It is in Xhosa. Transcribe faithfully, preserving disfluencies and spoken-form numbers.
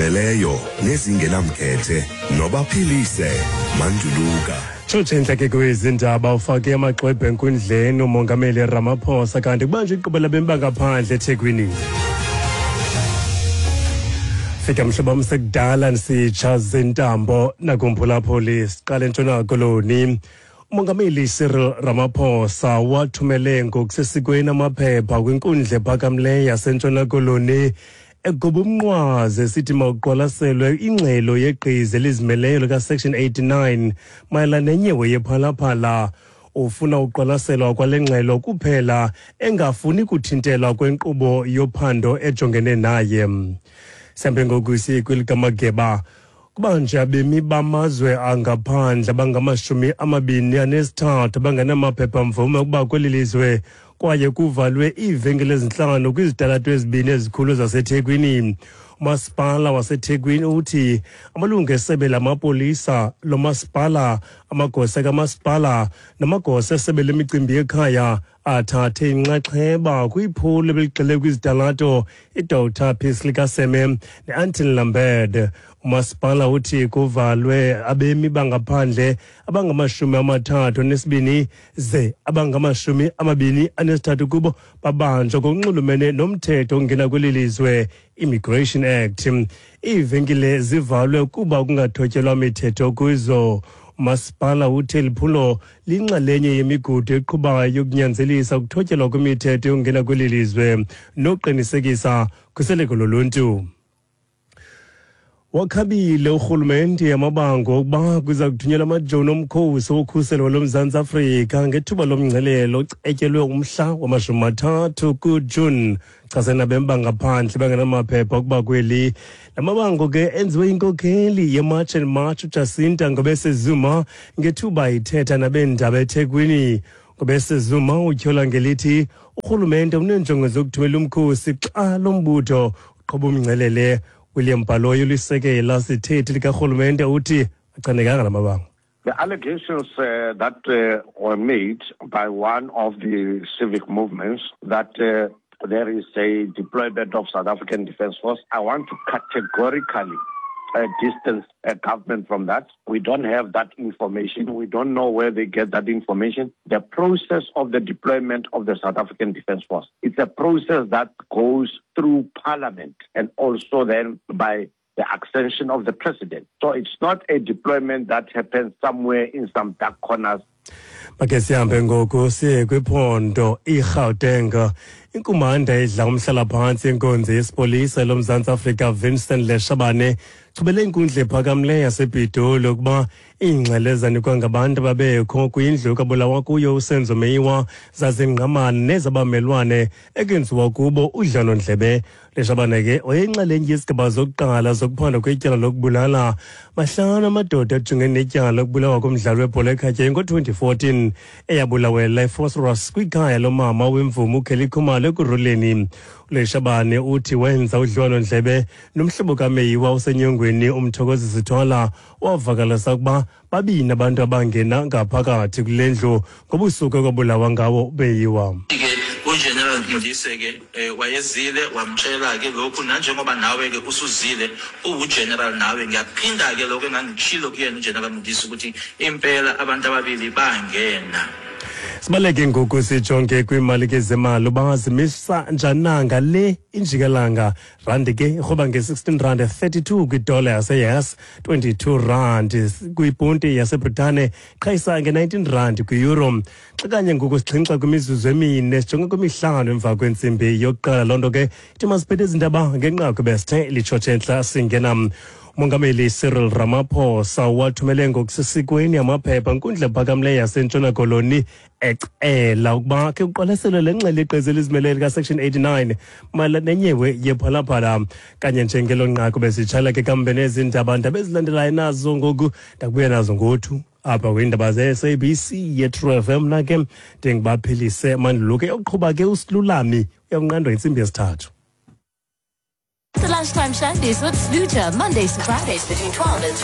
Ezizimeleyo nezingenamkhethe nobaphilise Manduluka. Tshotshe intleke kwezi ndaba, ufake amaxwebhu enkundleni uMongameli Ramaphosa, kanti kubanjwe iqhuba labemi bangaphandle eThekwini. Fika mhlobo wam, sekudala ndisitsha zintambo nakumphulaphuli. Siqale eNtshona Koloni. Umongameli Cyril Ramaphosa wathumele ngokusesikweni amaphepha kwinkundla ephakamileyo yaseNtshona Koloni, egoba umnqwazi esithi mawuqwalaselwe ingxelo yegqiza elizimeleyo likaSection eighty-nine mayelana nenyewe yePhalaphala. Ufuna uqwalaselwa kwale ngxelo kuphela, engafuni kuthintelwa kwenkqubo yophando ejongene naye. Sihambe ngoku siye kwelikamageba. Kubanje abemi bamazwe angaphandle abangamashumi amabini anesithathu abangenamaphepha-mvume ukuba kweli lizwe, kwaye kuvalwe iivenkile ezintlanu kwizitalato ezibini ezikhulu zaseThekwini. Umasipala waseThekwini uthi amalungu esebe lamapolisa lomasipala, amagosa kamasipala namagosa esebe lemicimbi yekhaya athathe inxaxheba kwiphulo ebeligxile kwizitalato iDoctor Pixley kaSeme ne-Anton Lembede. Umasipala uthi kuvalwe abemi bangaphandle abangamashumi amathathu anesibini, ze abangamashumi amabini anesithathu kubo babanjwa ngokunxulumene nomthetho ongena kweli lizwe, Immigration Act. Iivenkile zivalwe kuba kungathotyelwa mithetho kuzo. Umasipala uthe liphulo linxalenye yemigudu eqhubayo yokunyanzelisa ukuthotyelwa kwemithetho yokungena kweli lizwe noqinisekisa khuseleko loluntu. Wakhabile urhulumente amabango okuba kuza kuthunyelwa amajoni omkhosi wokhuselo loMzantsi Afrika ngethuba lomngcelelo ocetyelwe umhla wamashumi mathathu kuJuni chasene nabemi bangaphandle bangenamaphepha ukuba kweli. La mabango ke enziwe inkokheli yeMarch and March uJacinta Ngobese Zuma ngethuba ithetha nabeendaba eThekwini. Ngobese Zuma utyhola ngelithi urhulumente uneenjongo zokuthumela umkhosi xa lo mbutho uqhuba umngcelele. William Baloyi ulisekela sithethi likarhulumente, uthi achanekanga la mabango. The allegations uh, that uh, were made by one of the civic movements that uh, there is a deployment of South African Defence Force, I want to categorically uh, distance uh, government from that. We don't have that information. We don't know where they get that information. The process of the deployment of the South African Defence Force, it's a process that goes through Parliament and also then by the accession of the president. So it's not a deployment that happens somewhere in some dark corners. Make sihambe ngoku siye kwiphondo iGauteng. Inkumanda edla umhlalaphantsi yenkonzo yesipolisa loMzantsi Afrika Vincent Leshabane chubele inkundla ephakamileyo yasePitoli ukuba iingxelo ezanikwa ngabantu ababekho kwindlu kabulawa kuyo uSenzo Meyiwa zazingqamana nezabamelwane ekwenziwa kubo udlwanondlebe. Leshabane ke wayeyinxalenye yesigaba zokuqala zokuphanda kwetyala lokubulala mahlanu amadoda ajongene netyala lokubulawa komdlalo webhola ekhatywayo ngo-twenty fourteen eyabulawela ePhosphorus kwikhaya lomama wemvumi uKelly Khumalo Ekurhuleni. uLeshabane uthi wenza udliwano-ndlebe nomhlobo kaMeyiwa osenyongweni uMthokozisi Thwala, wavakalisa ukuba babini abantu abangena ngaphakathi kule ndlu ngobusuku ekwabulawa ngawo uMeyiwa. Ke uGeneral Modise ke eh, wayezile wamtshela ke lokhu, nanjengoba nawe ke usuzile uwuGeneral nawe, ngiyaphinda ke lokho engangitshilo kuyena uGeneral Modise ukuthi impela abantu ababili bangena. Sibaleke ngoku sijonge kwiimali ke zemali uba zimisa njananga le injikalanga. Randi ke irhoba nge-sixteen rand thirty-two kwidola yase-U S, twenty-two rand kwiponti yaseBritane, qhayisa nge-nineteen rand kwi-euro. Xa kanye ngoku sixhinxa kwimizuzu emine sijonge kwimihlanu emva kwentsimbi yokuqala. Loo nto ke ithi masiphethe izindaba ngenqaku besithe litshotshe entla singena. Umongameli Cyril Ramaphosa wathumele ngokusesikweni amaphepha nkundla ephakamileyo yaseNtshona Koloni ecela ukuba ke kuqwalaselwe le ngxelo yeqeza elizimeleyo likaSection eighty-nine mayelana nenyewe yePhalaphala. Kanye njengelo nqaku besitshala ke kambe nezi ndaba ndaba ezilandelayo nazo ngoku ndakubuya nazo ngothu apha kwiindaba ze-S A B C ye-True F M. Na ke ndingubaphilise Manduluke, yokuqhuba ke uSilulami uyakunqandwa yintsimbi yesithathu. The Lunchtime Shandies with Sluja, Mondays to Fridays between twelve and